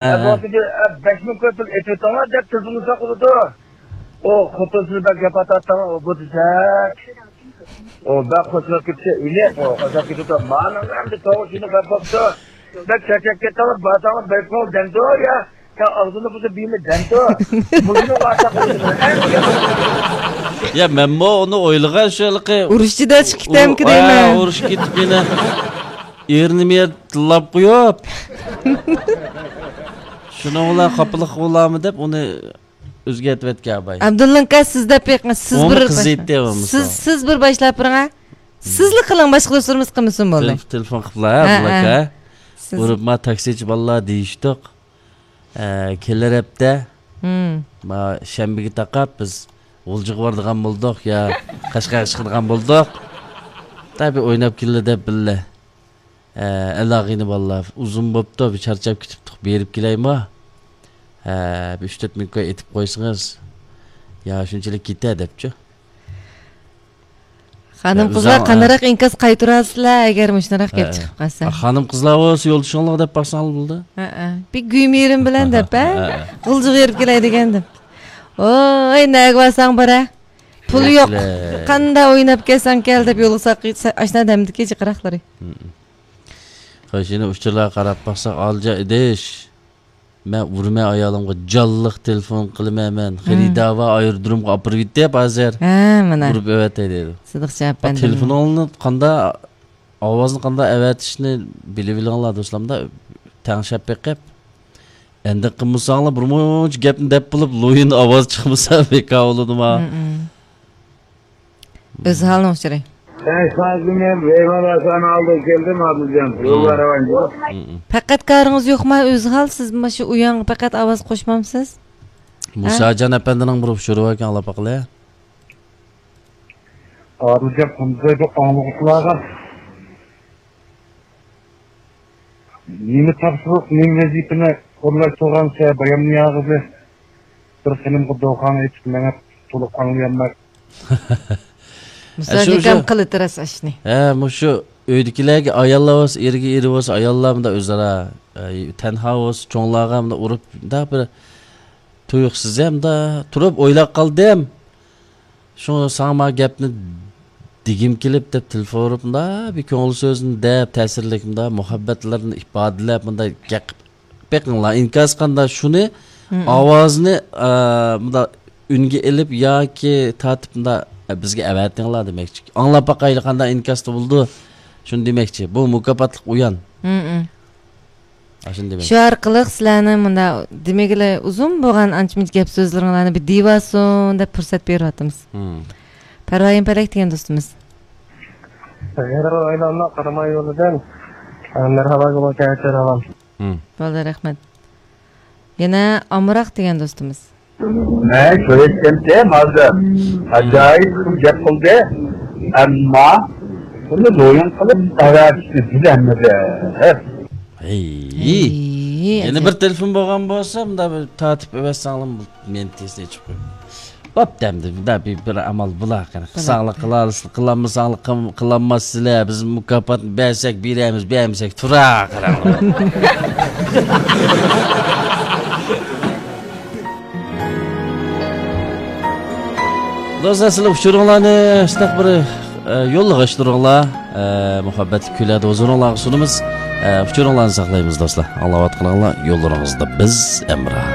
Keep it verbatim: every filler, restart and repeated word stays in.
ھە، ھە. ئەبۇبەكىردىن، ئە، بەش مىڭ كوي پۇل ئېتىۋېتىڭلار دەپ تېلېفوننى ساقلىدى. ئۇ خوتۇنسىز بەك گەپ ئاتاتتىڭ، ئۇ بۇ دېسەك. ئۇ بەك خوشلاپ كېتىشى ئىلىق، ئۇ خوشلاپ كېتىدۇ. مانىڭ ئەمدى توغرا شۇنى گەپ بوپتۇ. بەك چارچاپ كەتتىڭىز، بارساڭلار بەك كۆڭۈل دەمدۇ يا. يا ئاغزىنى بۇزۇپ بىمە دەمدۇ. مۇشۇنى ئاشاق قويدۇم. يا، مەنمۇ ئۇنى ئويلىغان شۇ ھېلىقى. ئۇرۇشچىدا چىقىپ كېتەمكى ئۇ-، دەيمەن. ئا، ئۇرۇشقا كېتىپ يەنە ئېرىنى مېرى تىللاپ قويۇپ. شۇنىڭ بىلەن خاپىلىق بولارمۇ دەپ ئۇنى ئۆزگەرتىۋەتكەن ئاباي. ئابدۇللا ئاكا، سىز دەپ بېقىڭ، سىز ئۇمۇ بىر قىزىيتتى بولمىسا. سىز، سىز بىر باشلاپ بېرىڭ. سىزلا قىلىڭ، باشقا دوستلىرىمىز قىلمىسۇن بولدى. تېلېف-، تېلېفون قىپلا، ھە، ھە، بۇلاكا. سىز ئۇرۇپ ما تاكسىچى بالىلار دېيىشتۇق. ئە، كېلەر ھەپتە، مم، ما شەنبىگە تاقاپ بىز غۇلجىغا بارىدىغان بولدۇق يا قەشقەرگە چىقىدىغان بولدۇق. تەبىئىي ئويناپ كېلىلى دەپ بىللە. ئە، ئەلاغىنى بالىلار، ئۇزۇن بوپتۇ، بىر چارچاپ كېتىپتۇق، بېرىپ كېلەيمۇ؟ ھە، بىر ئۈچ تۆت مىڭ كوي ئېتىپ قويسىڭىز، يا شۇنچىلىك كېتە دەپچۇ. خانىم يا، قىزلار ئۆزۈڭ، قانداقراق ئىنكاس قايتۇراسىلەر، ئەگەر مۇشۇنداق گەپ ھە، چىقىپ قالسا؟ ھە، خانىم قىزلار بولسا يولدىشىڭلارغا دەپ باقساڭلار بولىدۇ. ھە، ھە. بىر گۈيمىرىم بىلەن دەپ، ھە؟ ھە، ھە. غۇلجىغا بېرىپ كېلەي دېگەندىم. ۋاي، نەگە بارساڭ بار ھە. پۇل يوق. كېلە. قاندا ئويناپ كەلسەڭ كەل دەپ يولغا ساقىي-، سا-، ئاشنا دەمدىكى جىقراقلىرى. ھە. خوش، يەنە ئۇچۇرلارغا قاراپ باقساق، ئالىجان ئىدىش. مەن ئۇرىمەن ئايالىمغا، جانلىق تېلېفون قىلىمەن مەن. مم. خېرىدار بار، ئايرودرومغا ئاپىرىۋېتىپ ھازىر. ھە، مانا. ئۇرۇپ ئەۋەتەي دەيدۇ. سىدىق جاۋاب بەردىم. تېلېفونۇڭنى قاندا ئاۋازنى قانداق ئەۋەتىشنى بىلىۋېلىڭلار دوستلار، مۇنداق تەڭشەپ بېقىپ. ئەندىق قىلمىساڭلار، بىر مۇنچە گەپنى دەپ بولۇپ، لويىن ئاۋاز چىقمىسا بىكار بولىدۇما؟ مم. ئۆزھالنىڭ ئۇچۇرى. Ben şarjımı Veyman Hasan aldı geldim abicim. Yollara bence. مم. پەقەت كارىڭىز يوقما ئۆزھال؟ سىز مۇشۇ ئۇياڭغا پەقەت ئاۋاز قوشمامسىز؟ ھە؟ مۇساجان ئەپەندىنىڭ بىر ئۇچۇرى باركەن، ئاڭلاپ باقىلى. ئادىلجان قۇمزايدۇ ئاڭلىغۇچىلارغا نېمە تاپشۇرۇق، نېمە ۋەزىپىنى ئورۇنلاش تۇرغانسە بايامنى ياغىزى بىر خېنىمغا دوخاڭ ئېيتىپ مېڭىپ تولۇق ئاڭلىيالماي. مۇساجان ئەشۇ، ئاكام شۇ. قىلىتىرەس ئاشنى. ھە، مۇشۇ ئۆيدىكىلەرگە ئاياللار بولسا، ئېرىگە ئېرى بولسا، ئاياللار مۇنداق ئۆزئارا، ئە، تەنھا بولسا، چوڭلارغا مۇنداق ئۇرۇپ، مۇنداق بىر تۇيۇقسىز ھەم مۇنداق تۇرۇپ ئويلاپ قالدىم. شۇڭا ساڭا ما گەپنى دېگۈم كېلىپ دەپ تېلېفون ئۇرۇپ، مۇنداق بىر كۆڭۈل سۆزىنى دەپ، تەسىرلىك مۇنداق مۇھەببەتلىرىنى ئىپادىلەپ، مۇنداق گەپ بېقىڭلار. ئىنكاس قاندا شۇنى، مم، ئاۋازىنى، ئا، مۇنداق ئۈنگە ئېلىپ ياكى تارتىپ مۇنداق، ئە، بىزگە ئەۋەتىڭلار دېمەكچى. ئاڭلاپ باقايلى، قانداق ئىنكاستا بولىدۇ. شۇنى دېمەكچى. بۇ مۇكاپاتلىق ئۇيان. مم، مم. ئاشۇنى دېمەكچى. شۇ ئارقىلىق سىلەرنىڭ مۇنداق دېمىگىلى ئۇزۇن بولغان ئانچە-مۇنچە گەپ سۆزلىرىڭلارنى بىر دېيىۋالسۇن دەپ پۇرسەت بېرىۋاتىمىز. مم. پەرۋايىم پەلەك دېگەن دوستىمىز. قاراماي يولىدىن، ئە، مەرھابا گۇلۇم، كەچۈر ھاۋام. مم. بولدى، رەھمەت. يەنە ئامراق دېگەن دوستىمىز. مەن كۆرۈشكەنتىم ھازىر. ئاجايىپ گەپ قىلدى. ئەمما بۇنى لويۇن قىلىپ ئەۋەتىشنى بىلەلمىدى. ھەي. ھەي، يەنە ئەجەب. بىر تېلېفون بولغان بولسا، مۇنداق بىر تارتىپ ئەۋەتسەڭلار، مېنى تېزلا ئېچىپ قويۇڭ. بوپتۇ ئەمدى، مۇنداق بىر، بىر ئامال بۇلار قېنى. بوپتۇ. قىلساڭلار قىلارسىلەر، قىلالمىساڭلار قىل-، قىلالماسسىلەر. بىز مۇكاپاتنى بەرسەك بېرەمىز، بەرمىسەك تۇرا قاراڭلار. دوستلار، سىلەر ئۇچۇرۇڭلارنى شۇنداق بىر، ئە، يوللىغاچلىرىڭلار، ئە، مۇھەببەتلىك كۈنلەردە ھۇزۇرۇڭلارغا سۇنىمىز. ئە، ئۇچۇرۇڭلارنى ساقلايمىز دوستلار. ئاڭلاۋاتقىنىڭلار يوللىرىڭىزدا بىز ھەمراھ.